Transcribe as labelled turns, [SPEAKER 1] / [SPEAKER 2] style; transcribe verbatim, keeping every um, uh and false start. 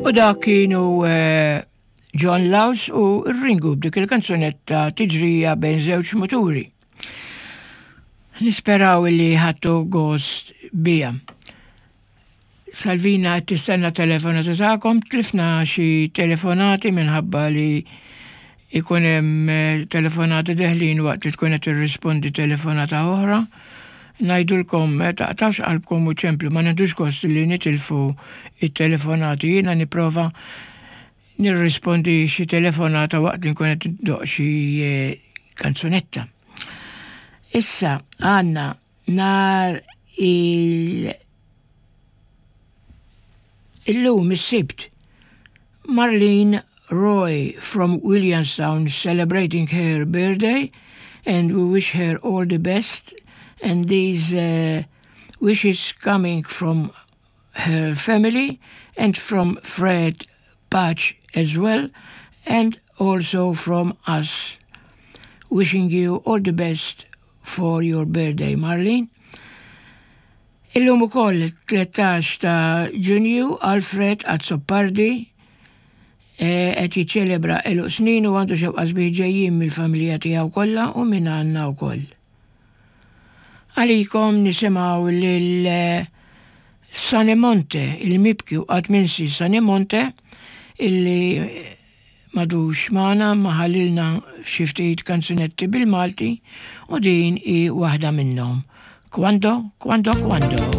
[SPEAKER 1] U dak kienu eh, John Laus u Ringu b'dik il-kanzunetta Tiġrija bejn żewġ muturi. Nisperaw li ħadtu gost biha. Salvina qed tistenna telefonata tagħkom, tlifna xi telefonati minħabba li ikun hemm eh, telefonati deħlin waqt li tkun qed tirrispondi telefonata oħra. Ngħidulkom eh, taqtgħux qalbkom u ċemplu, ma nieħdux gost li nitilfu it-telefonati. Jiena nipprova nirrispondi xi telefonata waqt li nkun qed ndoqq xi eh, kanzunetta. Issa għandna nhar il illum is-Sibt Marlene Roy from Williamstown celebrating her birthday, and we wish her all the best, and these uh, wishes coming from her family and from Fred Patch as well, and also from us, wishing you all the best for your birthday, Marlene. Illum ukoll tlettax ta' Ġunju, Alfred Azzopardi eh, qed jiċċelebra għeluq snin u għandu xewqat sbieħ ġejjin mill-familja tiegħu kollha u minn għandna wkoll. Għalikom nisimgħu lil eh, Sonny Monte, il-mibki u qatt minsi Sonny Monte, illi m'għadux magħna imma ħallielna xi ftit kanzunetti bil-Malti u din hi waħda minnhom. Quando, quando, quando.